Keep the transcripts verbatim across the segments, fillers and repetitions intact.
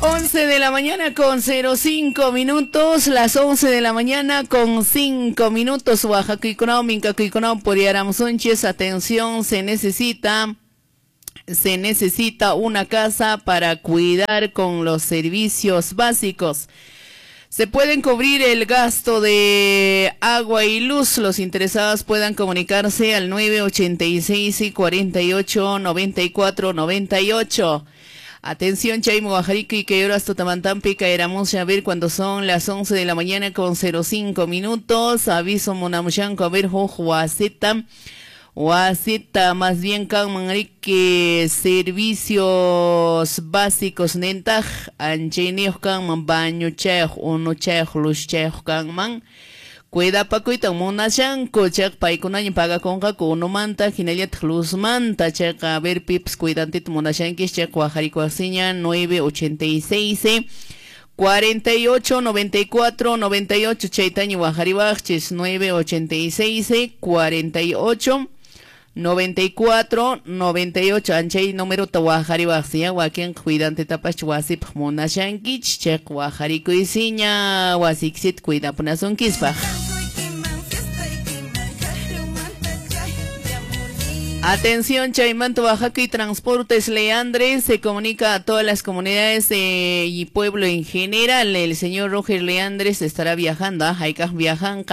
once de la mañana con cero cinco minutos, las once de la mañana con cinco minutos. Oaxaca, Mincacuiconao, Puriaramusunches, atención, se necesita, se necesita una casa para cuidar con los servicios básicos. Se pueden cubrir el gasto de agua y luz. Los interesados puedan comunicarse al nueve ochenta y seis y cuarenta y ocho noventa y cuatro noventa y ocho. Atención, Chaymo, Guajarico y que horas Totamantampi caeramos a ver cuando son las once de la mañana con cero cinco minutos. Aviso Monamushanko, a ver, Jojuaceta. Huasita, más bien Kanmanrique, servicios básicos nentaj, anchenios kanman, baño chayoj, uno chayoj, luz chayoj kanman. Cuidapakuita munashanku, chayqa paykunaña pagakunqaku unumanta, hinallataq luzmanta, chayqa a ver pips cuidantita munashankis, chayqa wajarikuwasiña nueve ochenta y seis cuarenta y ocho noventa y cuatro noventa y ocho, chaytaña wajariwaqchis nueve ochenta y seis cuarenta y ocho noventa y cuatro noventa y ocho, anchay número tawajariwaqsiña, wakin cuidante tapach wasipaq munashankich, chayqa wajarikuysiña wasiksit cuidapunasunkispa. Atención, Chaymanto, Oaxaca y Transportes Leandres se comunica a todas las comunidades eh, y pueblo en general. El señor Roger Leandres estará viajando a Haikaj viajan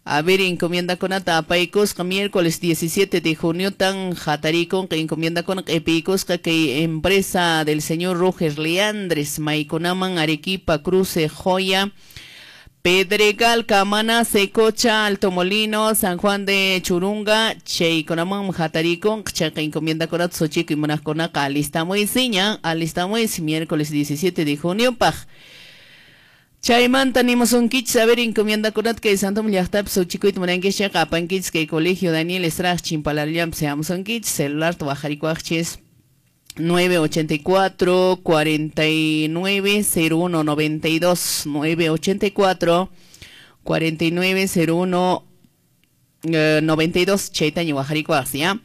a ver, encomienda con Atapaycosca, miércoles diecisiete de junio, tan jataricon, que encomienda con Epicosca, que empresa del señor Roger Leandres, Maiconaman, Arequipa, Cruce, Joya, Pedregal, Camana, Secocha, Alto Molino, San Juan de Churunga, Cheiconamán, Jataricón, Chaca, encomienda con Atzochico y Monasconaca, alistamuisiña, alistamuis, miércoles diecisiete de junio, paj. Chaymanta nimusunkichis, a ver, encomienda con que Santo Llaqtapi Sochikuyta munankichis, chayqa apankichis kay colegio Daniel Estrada Chimpalarllampi seamusunkichis, celular tuwajarikuaqchis nueve ochenta y cuatro cuarenta y nueve cero uno noventa y dos, nueve ochenta y cuatro cuarenta y nueve cero uno noventa y dos, chaytaña wajarikuaqsi, ¿ya?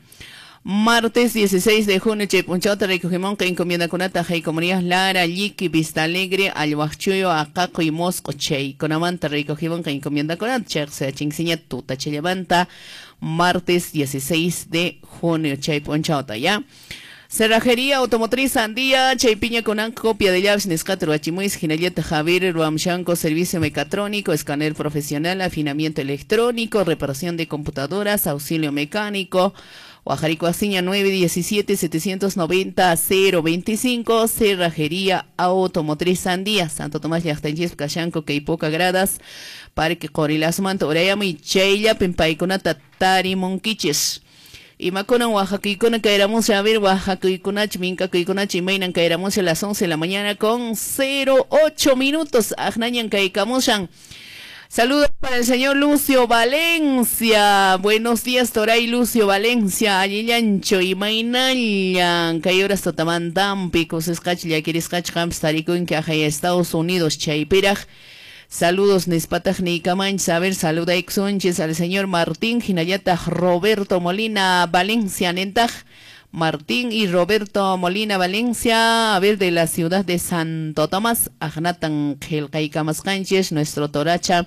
Martes dieciséis de junio, Chaypunchauta, recogimón, que encomienda con Ataja y Comunidad Lara, Lliqui, Vista Alegre, Alhuachuyo, Acaco y Mosco, Chayconamanta, recogimón, que encomienda con Ataja, se chinxiña, Tuta, Chayamanta, martes dieciséis de junio, Chaypunchauta, ¿ya? Cerrajería Automotriz Andía, Chaypiña con copia de llaves, Nescatro, Achimuis, Ginalleta, Javier, Ruamshanco, servicio mecatrónico, escáner profesional, afinamiento electrónico, reparación de computadoras, auxilio mecánico, Oaxaricoaciña nueve diecisiete setecientos noventa cero veinticinco, Cerrajería Automotriz Andía, Santo Tomás Llaqtanchis, Kashanco, Keipoca Gradas, Parque Qorilasmanta, Urayami, Chaylla, Pimpaykunata, Tarimunkichis. Imakunan Oaxacuicuna caeramos a ver Oaxacuicunach, Mincacuicunach, Imaynan caeramos a las once de la mañana con cero ocho minutos. Ajnañan caecamushan. Saludos para el señor Lucio Valencia. Buenos días, Toray Lucio Valencia. Allillancho, Imaynallan. Cayoras Totamantampi, Cosescach, Yaquiriscach, Hamstaricun, que ajay Estados Unidos, Chaypiraj. Saludos, Nespataj Nicamanch, a ver, saluda Exunches al señor Martín Jinayata, Roberto Molina Valencia, Nentaj, Martín y Roberto Molina Valencia, a ver, de la ciudad de Santo Tomás, Ajnatan Gelcaicamascanches, nuestro Toracha,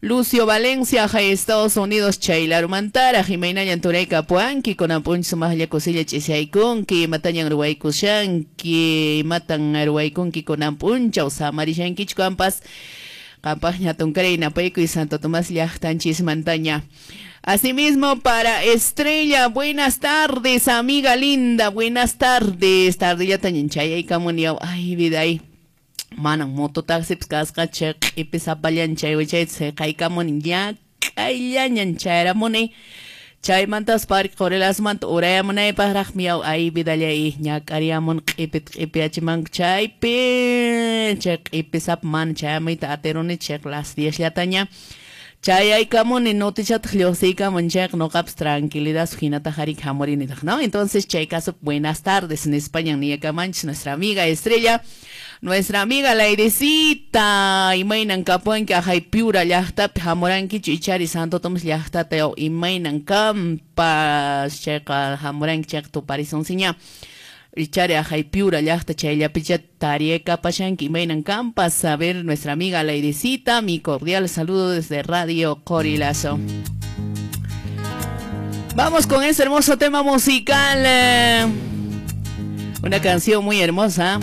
Lucio Valencia, Jai Estados Unidos, Chailarumantara, Jimena Yantureca, Puanqui, Conapunch, Sumaya Cosilla, Chesiaikunki, Matañan Ruaykushanki, Matan Ruaykunki, Conampuncha, Osamarishanki, Campas, Campaña Tuncarena, Paico y Santo Tomás Llaqtanchis Montaña. Asimismo, para Estrella, buenas tardes, amiga linda, buenas tardes. Tardilla tañinchaya y camuniao, ay, vida ahí. Manan mototaxi, casca, chek, y pesapallan, chay, chay, se caicamun, ya, cayañan, chayramone. Chay mantas park, corelas mant, urayamunay, paraj, miau, ay, vida yay, ñacariamun, qipit, qipiachiman, chay, pe, chek, y pesap man, chayamita, aterone, chek, las diez yataña. Chay kamuni notichat xlosika monchak no caps tranquilidad sujinata harik hamorinita, ¿no? Entonces, chay caso, buenas tardes en España, Niacamanch, nuestra amiga Estrella, nuestra amiga Lairecita, Imaynan Capuanca, Jaipiura, Llaqtapi, Hamuranki, Chichari, Santo Tomás, Llaqtateo, Imaynan Campas, Checa, Hamuranki, Chacto, Parisonsiña. Ichari ajay Piura llaqta chayllapicha tariekapashanki imaynan kampas. A ver, nuestra amiga Laidecita, mi cordial saludo desde Radio Qorilazo. Vamos con este hermoso tema musical. Una canción muy hermosa.